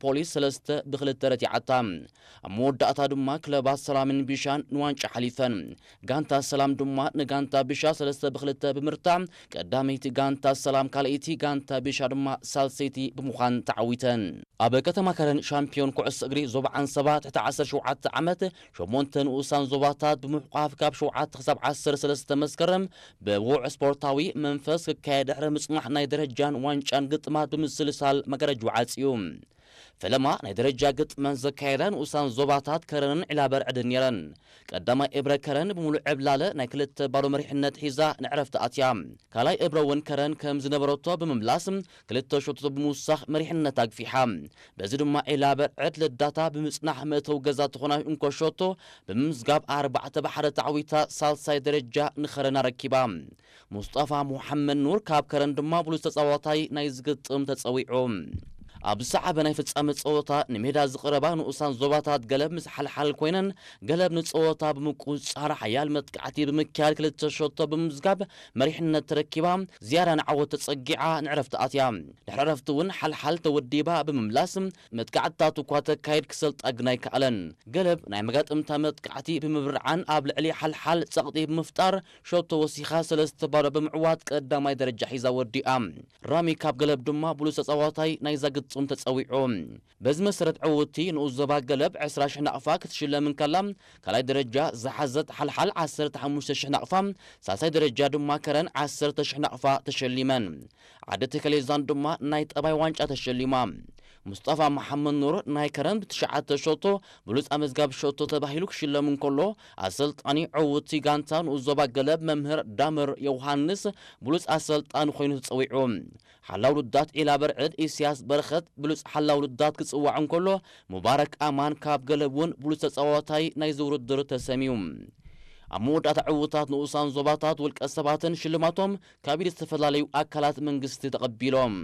ፖሊስ ሰለስተ ብክልተ ረቲዓታ። ኣብ መወዳእታ ድማ ክለባት ሰላምን ቢሻን ንዋንጫ ሓሊፈን። ጋንታ ሰላም ድማ ንጋንታ ቢሻ ሰለስተ ብክልተ ብምርታ ቀዳመይቲ ጋንታ ሰላም ካልኣይቲ ጋንታ ቢሻ ድማ ሳልሰይቲ ብምዃን ተዓዊተን። ኣብ ከተማ ከረን ሻምፒዮን ኩዕሶ እግሪ ዞባ ዓንሰባ ትሕቲ ዓሰርተ ሸውዓተ ዓመት ሸሞንተ ንኡሳን ዞባታት ብምሕቋፍ ካብ ሸውዓተ ክሳብ ዓሰርተ ሰለስተ መስከረም ብውዕ ስፖርታዊ መንፈስ ክካየድ ድሕሪ ምጽናሕ ናይ ደረጃን ዋንጫን ግጥማት ብምስልሳል መጋረጅ ዓጽዩ። ፈለማ ናይ ደረጃ ግጥመን ዘካየዳ ንኡሳን ዞባታት ከረንን ዒላበርዕድን ነይረን። ቀዳማይ እብረ ከረን ብምሉእ ዕብላለ ናይ ክልተ ባዶ መሪሕነት ሒዛ ንዕረፍቲ ኣትያ። ካልኣይ እብረ እውን ከረን ከም ዝነበረቶ ብምምላስ ክልተ ሸቶ ብምውሳኽ መሪሕነት ኣግፊሓ። በዚ ድማ ዒላበርዕድ ለዳታ ብምጽናሕ መእተዊ ገዛ ተኾና እንኮ ሸቶ ብምምዝጋብ ኣርባዕተ ብሓደ ተዓዊታ ሳልሳይ ደረጃ ንኸረን ኣረኪባ። ሙስጠፋ ሙሓመድ ኑር ካብ ከረን ድማ ብሉጽ ተጻዋታይ ናይ ዝግጥም ተጸዊዑ። ኣብ ዝሰዓበ ናይ ፍጻመ ጸወታ ንሜዳ ዝቐረባ ንኡሳን ዞባታት ገለብ ምስ ሓልሓል ኮይነን ገለብ ንጸወታ ብምቁጽጻር ሓያል መጥቃዕቲ ብምክያድ ክልተ ሸቶ ብምምዝጋብ መሪሕነት ተረኪባ ዝያዳ ንዓወት ተጸጊዓ ንዕረፍቲ ኣትያ። ድሕሪ ዕረፍቲ እውን ሓልሓል ተወዲባ ብምምላስ መጥቃዕትታት እኳ ተካይድ ክሰልጣ ግን ኣይከኣለን። ገለብ ናይ መጋጥምታ መጥቃዕቲ ብምብርዓን ኣብ ልዕሊ ሓልሓል ጸቕጢ ብምፍጣር ሸቶ ወሲኻ ሰለስተ ባዶ ብምዕዋት ቀዳማይ ደረጃ ሒዛ ወዲኣ። ራሚ ካብ ገለብ ድማ ብሉጽ ተጻዋታይ ናይዛ ግጥም ተጸዊዑ። በዚ መሰረት ዕውቲ ንኡስ ዞባ ገለብ ዕስራ ሽሕ ናቕፋ ክትሽለም እንከላ ካልኣይ ደረጃ ዝሓዘት ሓልሓል ዓሰርተ ሓሙሽተ ሽሕ ናቕፋ፣ ሳልሳይ ደረጃ ድማ ከረን ዓሰርተ ሽሕ ናቕፋ ተሸሊመን። ዓዲ ተከሌዛን ድማ ናይ ጠባይ ዋንጫ ተሸሊማ። ሙስጠፋ መሓመድ ኑር ናይ ከረን ብትሽዓተ ሸቶ ብሉጽ ኣመዝጋቢ ሸቶ ተባሂሉ ክሽለም እንከሎ ኣሰልጣኒ ዕውቲ ጋንታ ንኡስ ዞባ ገለብ መምህር ዳምር ዮውሃንስ ብሉጽ ኣሰልጣኒ ኮይኑ ተጸዊዑ። ሓላው ልዳት ዒላ በርዕድ ኢስያስ በረኸት ብሉጽ ሓላው ልዳት ክጽዋዕ እንከሎ ሙባረክ ኣማን ካብ ገለብ እውን ብሉጽ ተጻዋታይ ናይዚ ውድድር ተሰምዩ። ኣብ መወዳእታ ዕውታት ንኡሳን ዞባታት ውልቀ ሰባትን ሽልማቶም ካብ ኢድ ዝተፈላለዩ ኣካላት መንግስቲ ተቐቢሎም።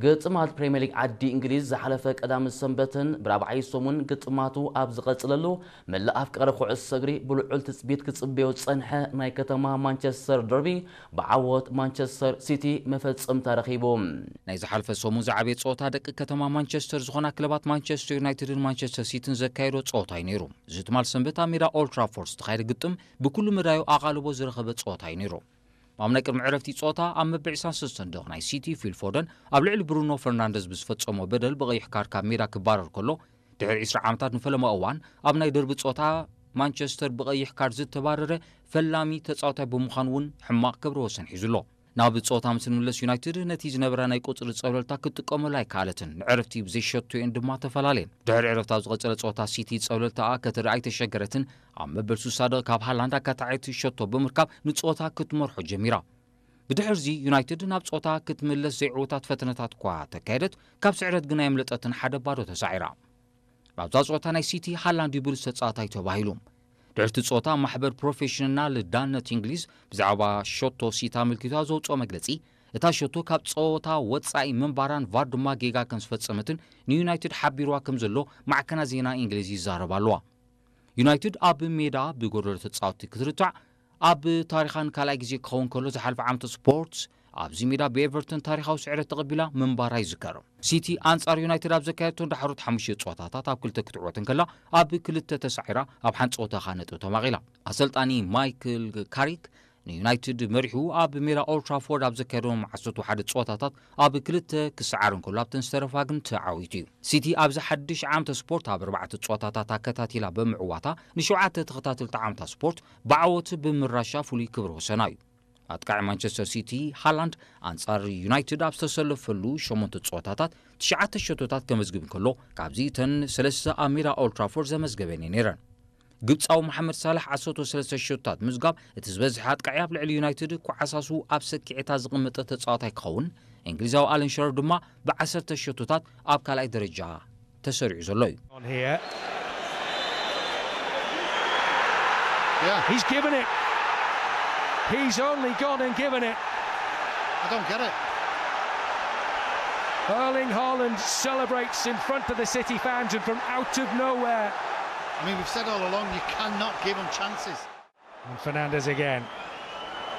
ግጥማት ፕሪምየር ሊግ ዓዲ እንግሊዝ ዝሓለፈ ቀዳምን ሰንበትን ብራብዓይ ሰሙን ግጥማቱ ኣብ ዝቐጽለሉ መላእ ኣፍቃሪ ኩዕሶ እግሪ ብልዑል ትጽቢት ክጽበዮ ዝጸንሐ ናይ ከተማ ማንቸስተር ደርቢ ብዓወት ማንቸስተር ሲቲ መፈጸምታ ረኺቡ። ናይ ዝሓለፈ ሰሙን ዝዓበየ ጸወታ ደቂ ከተማ ማንቸስተር ዝኾና ክለባት ማንቸስተር ዩናይትድን ማንቸስተር ሲቲን ዘካየዶ ጸወታ እዩ ነይሩ። እዚ ትማል ሰንበት ኣብ ሜዳ ኦልድ ትራፎርድ ዝተኻየደ ግጥም ብኩሉ መዳዩ ኣቓልቦ ዝረኸበ ጸወታ እዩ ነይሩ። ኣብ ናይ ቅድሚ ዕረፍቲ ጸወታ ኣብ መበል ዕስራን ሰለስተን ደቕ ናይ ሲቲ ፊል ፎደን ኣብ ልዕሊ ብሩኖ ፈርናንደዝ ብዝፈጸሞ በደል ብቐይሕ ካርድ ካብ ሜዳ ክባረር ከሎ፣ ድሕሪ ዕስራ ዓመታት ንፈለማ እዋን ኣብ ናይ ደርቢ ጸወታ ማንቸስተር ብቐይሕ ካርድ ዝተባረረ ፈላሚ ተጻዋታይ ብምዃኑ እውን ሕማቕ ክብረ ወሰን ሒዙ ኣሎ። ናብ ጸወታ ምስ እንምለስ ዩናይትድ ነቲ ዝነበራ ናይ ቁጽሪ ጸብለልታ ክትጥቀመሉ ኣይከኣለትን፣ ንዕረፍቲ ብዘይሸቶ እየን ድማ ተፈላለየን። ድሕሪ ዕረፍቲ ኣብ ዝቐጸለ ጸወታ ሲቲ ጸብለልታኣ ከተርኢ ኣይተሸገረትን፣ ኣብ መበል ሱሳ ደቕ ካብ ሃላንድ ኣካታዒት ሸቶ ብምርካብ ንጸወታ ክትመርሖ ጀሚራ። ብድሕርዚ ዩናይትድ ናብ ጸወታ ክትምለስ ዘይዕዉታት ፈተነታት እኳ ተካየደት፣ ካብ ስዕረት ግና የምለጠትን ሓደ ባዶ ተሳዒራ። ኣብዛ ጸወታ ናይ ሲቲ ሃላንድ እዩ ብሉጽ ተጻዋታይ ተባሂሉ። ድሕርቲ ጸወታ ማሕበር ፕሮፌሽናል ዳነት እንግሊዝ ብዛዕባ ሸቶ ሲቲ ኣመልኪቱ ኣብ ዘውጽኦ መግለጺ፣ እታ ሸቶ ካብ ጸወታ ወጻኢ ምንባራን ቫር ድማ ጌጋ ከም ዝፈጸመትን ንዩናይትድ ሓቢርዋ ከም ዘሎ ማዕከናት ዜና እንግሊዝ ይዛረባ ኣለዋ። ዩናይትድ ኣብ ሜዳ ብጎደሎ ተጻወትቲ ክትርታዕ ኣብ ታሪኻ ንካልኣይ ግዜ ክኸውን ከሎ ዝሓለፈ ዓመተ ስፖርት ኣብዚ ሜዳ ብኤቨርተን ታሪኻዊ ስዕረት ተቐቢላ ምንባራ ይዝከር። ሲቲ ኣንጻር ዩናይትድ ኣብ ዘካየደቶ ዳሕሮት ሓሙሽተ ጸወታታት ኣብ ክልተ ክትዕወት እንከላ ኣብ ክልተ ተሳዒራ ኣብ ሓንቲ ጸወታ ከኣ ነጥቢ ተማቒላ። ኣሰልጣኒ ማይክል ካሪክ ንዩናይትድ መሪሑ ኣብ ሜዳ ኦልድ ትራፎርድ ኣብ ዘካየዶም ዓሰርተ ሓደ ጸወታታት ኣብ ክልተ ክሰዓር እንከሎ ኣብተን ዝተረፋ ግን ተዓዊቱ እዩ። ሲቲ ኣብዚ ሓድሽ ዓመተ ስፖርት ኣብ ኣርባዕተ ጸወታታት ኣከታቲላ ብምዕዋታ ንሸውዓተ ተኸታተልቲ ዓመታት ስፖርት ብዓወት ብምራሻ ፍሉይ ክብረ ወሰና እዩ። ኣጥቃዒ ማንቸስተር ሲቲ ሃላንድ ኣንጻር ዩናይትድ ኣብ ዝተሰለፈሉ ሸሞንተ ጸወታታት ትሽዓተ ሸቶታት ከመዝግብ እንከሎ ካብዚ እተን ሰለስተ ኣብ ሜዳ ኦልድ ትራፎርድ ዘመዝገበን እየን ነይረን። ግብጻዊ መሓመድ ሳላሕ ዓሰርተ ሰለስተ ሸቶታት ምዝጋብ እቲ ዝበዝሐ ኣጥቃዒ ኣብ ልዕሊ ዩናይትድ ኳዓሳሱ ኣብ ሰኪዔታ ዝቕመጠ ተጻዋታይ ክኸውን፣ እንግሊዛዊ ኣለን ሽረር ድማ ብዓሰርተ ሸቶታት ኣብ ካልኣይ ደረጃ ተሰሪዑ ዘሎ እዩ። On here. Yeah, He's given it. He's only gone and given it. I don't get it. Erling Haaland celebrates in front of the City fans and from out of nowhere. I mean, we've said all along you cannot give them chances. And Fernandes again.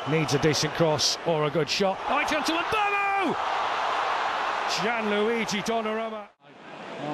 Needs a decent cross or a good shot. Right onto Mbamu! Gianluigi Donnarumma.